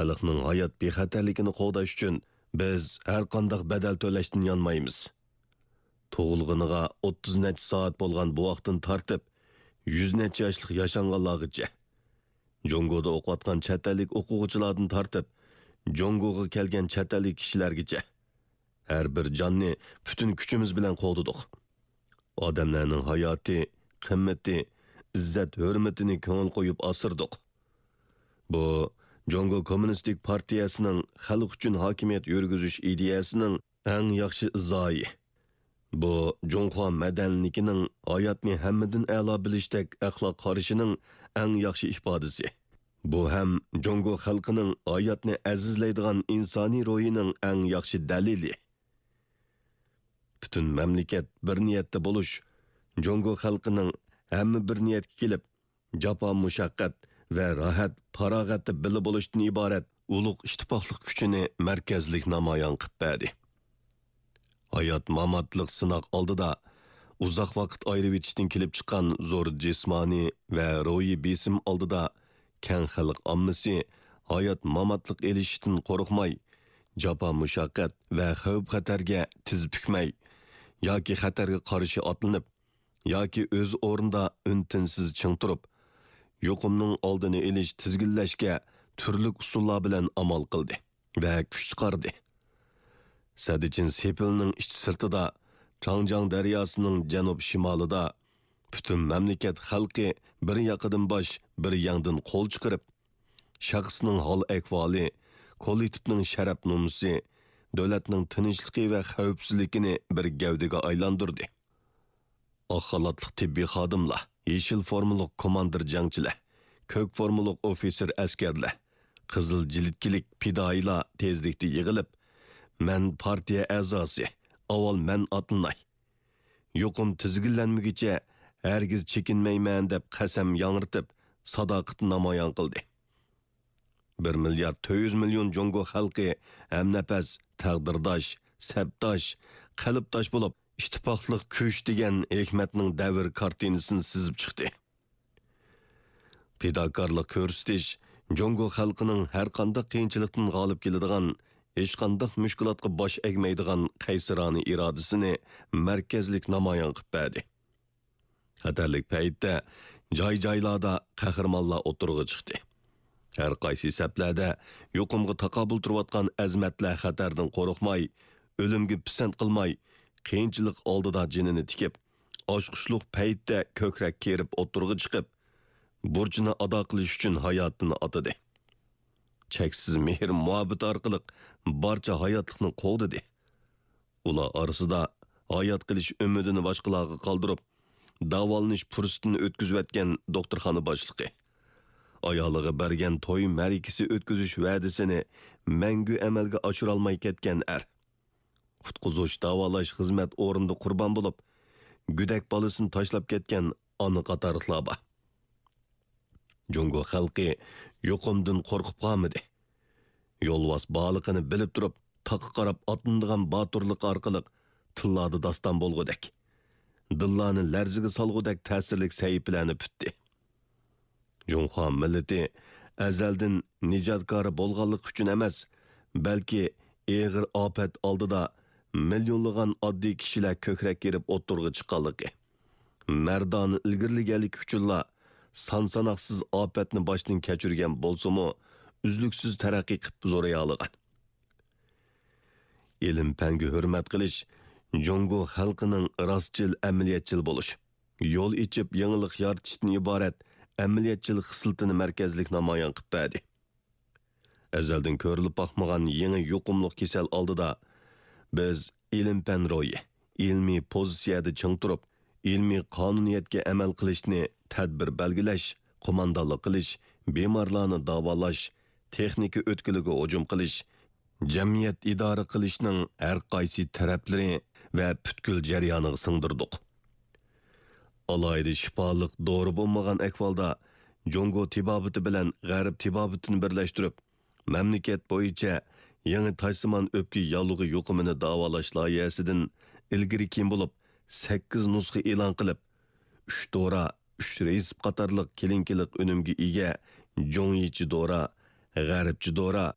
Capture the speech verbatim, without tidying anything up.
خەلقنىڭ ھايات بىخەتەرلىكىنى قوغداش ئۈچۈن بىز ھەرقانداق بەدەل تۆلەشتىن يانمايمىز. تۇغۇلغىنىغا ئوتتۇز نەچچە سائەت بولغان بوۋاقتىن تارتىپ، يۈز نەچچە ياشلىق ياشانغانلارغىچە، جۇڭگودا ئوقۇۋاتقان چەت ئەللىك ئوقۇغۇچىلاردىن تارتىپ، جۇڭگوغا كەلگەن چەت ئەللىك كىشىلەرگىچە، ھەر بىر جاننى پۈتۈن كۈچىمىز بىلەن قوغدىدۇق. ئادەملەرنىڭ ھاياتى، قىممىتى، ئىززەت-ھۆرمىتىنى كۆڭۈل قويۇپ ئاسرىدۇق. بۇ، جۇڭگو كوممۇنىستىك پارتىيەسىنىڭ خەلق ئۈچۈن ھاكىمىيەت يۈرگۈزۈش ئىدىيەسىنىڭ ئەڭ ياخشى ئىزاھى. بۇ، جۇڭخۇا مەدەنىيلىكىنىڭ ھاياتنى ھەممىدىن ئەلا بىلىشتەك ئەخلاق قارىشىنىڭ ئەڭ ياخشى ئىپادىسى. بۇ ھەم جۇڭگو خەلقىنىڭ ھاياتنى ئەزىزلەيدىغان ئىنسانىي روھىنىڭ ئەڭ ياخشى دەلىلى. پۈتۈن مەملىكەت بىر نىيەتتە بولۇش، جۇڭگو خەلقىنىڭ ھەممە بىر نىيەتكە كېلىپ، جاپا-مۇشەققەت ۋە راھەت-پاراغەتتە بىللە بولۇشتىن ئىبارەت ئۇلۇغ ئىتتىپاقلىق كۈچىنى مەركەزلىك نامايان قىلىپ بەردى. ھايات-ماماتلىق سىناق ئالدىدا ئۇزاق ۋاقىت ئايرىۋېتىشتىن كېلىپ چىققان زور جىسمانىي ۋە روھىي بېسىم ئالدىدا كەڭ خەلق ئاممىسى ھايات-ماماتلىق ئېلىشىشتىن قورقماي، جاپا-مۇشەققەت ۋە خەۋپ-خەتەرگە تىز پۈكمەي ياكى خەتەرگە قارشى ئاتلىنىپ، ياكى ئۆز ئورنىدا ئۈن-تىنسىز چىڭ تۇرۇپ، يۇقۇمنىڭ ئالدىنى ئېلىش، تىزگىنلەشكە تۈرلۈك ئۇسۇللار بىلەن ئامال قىلدى ۋە كۈچ چىقاردى. سەددىچىن سېپىلنىڭ ئىچ سىرتىدا، چاڭجياڭ دەرياسىنىڭ جەنۇب شىمالىدا پۈتۈن مەملىكەت خەلقى بىر ياقىدىن باش، بىر يەڭدىن قول چىقىرىپ، شەخسنىڭ ھال-ئەھۋالى، كوللېكتىپنىڭ شەرەپ-نومۇسى، دۆلەتنىڭ تىنچلىقى ۋە خەۋپسىزلىكىنى بىر گەۋدىگە ئايلاندۇردى. ئاق خالاتلىق تېببىي خادىملار، يېشىل فورمىلىق كوماندىر جەڭچىلەر، كۆك فورمىلىق ئوفىتسېر ئەسكەرلەر، قىزىل جىلىتكىلىك پىدائىيلار تېزلىكتە يىغىلىپ، «مەن پارتىيە ئەزاسى، ئاۋۋال مەن ئاتلىناي! يۇقۇم تىزگىنلەنمىگۈچە ھەرگىز چېكىنمەيمەن» دەپ قەسەم ياڭرىتىپ، ساداقىتىنى نامايان قىلدى. بىر مىليارد تۆت يۈز مىليون جۇڭگو خەلقى ھەمنەپەس، تەقدىرداش، سەپداش، قەلبداش بولۇپ، ئىتتىپاقلىق كۈچ دېگەن ھېكمەتنىڭ دەۋر كارتىنىسىنى سىزىپ چىقتى. پىداكارلىق كۆرسىتىش جۇڭگو خەلقىنىڭ ھەرقانداق قىيىنچىلىقتىن غالىب كېلىدىغان، ھېچقانداق مۈشكۈلاتقا باش ئەگمەيدىغان قەيسىرانە ئىرادىسىنى مەركەزلىك نامايان قىلىپ بەردى. خەتەرلىك پەيتتە جاي-جايلاردا قەھرىمانلار ئوتتۇرىغا چىقتى. ھەر قايسى سەپلەردە يۇقۇمغا تاقابىل تۇرۇۋاتقان ئەزىمەتلەر خەتەردىن قورقماي، ئۆلۈمگە پىسەنت قىلماي، قىيىنچىلىق ئالدىدا جېنىنى تىكىپ، ئاچقۇچلۇق پەيتتە كۆكرەك كېرىپ ئوتتۇرىغا چىقىپ، بۇرچىنى ئادا قىلىش ئۈچۈن ھاياتىنى ئاتىدى. چەكسىز مېھىر-مۇھەببىتى ئارقىلىق بارچە ھاياتلىقنى قوغدىدى. ئۇلار ئارىسىدا ھايات قېلىش ئۈمىدىنى باشقىلارغا قالدۇرۇپ، داۋالىنىش پۇرسىتىنى ئۆتكۈزۈۋەتكەن دوختۇرخانا باشلىقى، ئايالىغا بەرگەن توي مەرىكىسى ئۆتكۈزۈش ۋەدىسىنى مەڭگۈ ئەمەلگە ئاشۇرالماي كەتكەن ئەر، قۇتقۇزۇش، داۋالاش خىزمەت ئورنىدا قۇربان بولۇپ، گۆدەك بالىسىنى تاشلاپ كەتكەن ئانا قاتارلىقلار بار. جۇڭگو خەلقى يۇقۇمدىن قورقۇپ قالمىدى. يولۋاس بارلىقىنى بىلىپ تۇرۇپ، تاغقا قاراپ ئاتلىنىدىغان باتۇرلۇق ئارقىلىق تىللاردا داستان بولغۇدەك، دىللارنى لەرزىگە سالغۇدەك تەسىرلىك سەھىپىلەرنى پۈتتى. جۇڭخۇا مىللىتى ئەزەلدىن نىجاتكارى بولغانلىقى ئۈچۈن ئەمەس، بەلكى ئېغىر ئاپەت ئالدىدا مىليونلىغان ئاددىي كىشىلەر كۆكرەك كېرىپ ئوتتۇرىغا چىققانلىقى، مەردانە ئىلگىرىلىگەنلىكى ئۈچۈنلا سان-ساناقسىز ئاپەتنى باشتىن كەچۈرگەن بولسىمۇ، ئۈزلۈكسىز تەرەققىي قىلىپ زورىيالىغان. ئىلىم-پەنگە ھۆرمەت قىلىش جۇڭگو خەلقىنىڭ راستچىل، ئەمەلىيەتچىل بولۇش، يول ئېچىپ يېڭىلىق يارىتىشتىن ئىبارەت ئەمەلىيەتچىل خىسلىتىنى مەركەزلىك نامايان قىلىپ بەردى. ئەزەلدىن كۆرۈلۈپ باقمىغان يېڭى يۇقۇملۇق كېسەل ئالدىدا، بىز ئىلىم-پەن روھى، ئىلمىي پوزىتسىيەدە چىڭ تۇرۇپ، ئىلمىي قانۇنىيەتكە ئەمەل قىلىشنى، تەدبىر بەلگىلەش، قوماندانلىق قىلىش، بىمارلارنى داۋالاش، تېخنىكا ئۆتكىلىگە ھۇجۇم قىلىش، جەمئىيەت ئىدارە قىلىشنىڭ ھەر قايسى تەرەپلىرى ۋە پۈتكۈل جەريانىغا سىڭدۈردۇق. ئالاھىدە شىپالىق دورا بولمىغان ئەھۋالدا، جۇڭگو تېبابىتى بىلەن غەرب تېبابىتىنى بىرلەشتۈرۈپ، مەملىكەت بويىچە يېڭى تاجسىمان ئۆپكە ياللۇغى يۇقۇمىنى داۋالاش لايىھەسىدىن ئىلگىرى كېيىن بولۇپ سەككىز نۇسخا ئېلان قىلىپ، ئۈچ دورا، ئۈچ رېتسېپ قاتارلىق كلىنىكىلىق ئۈنۈمگە ئىگە جۇڭيىچى دورا، غەربچە دورا،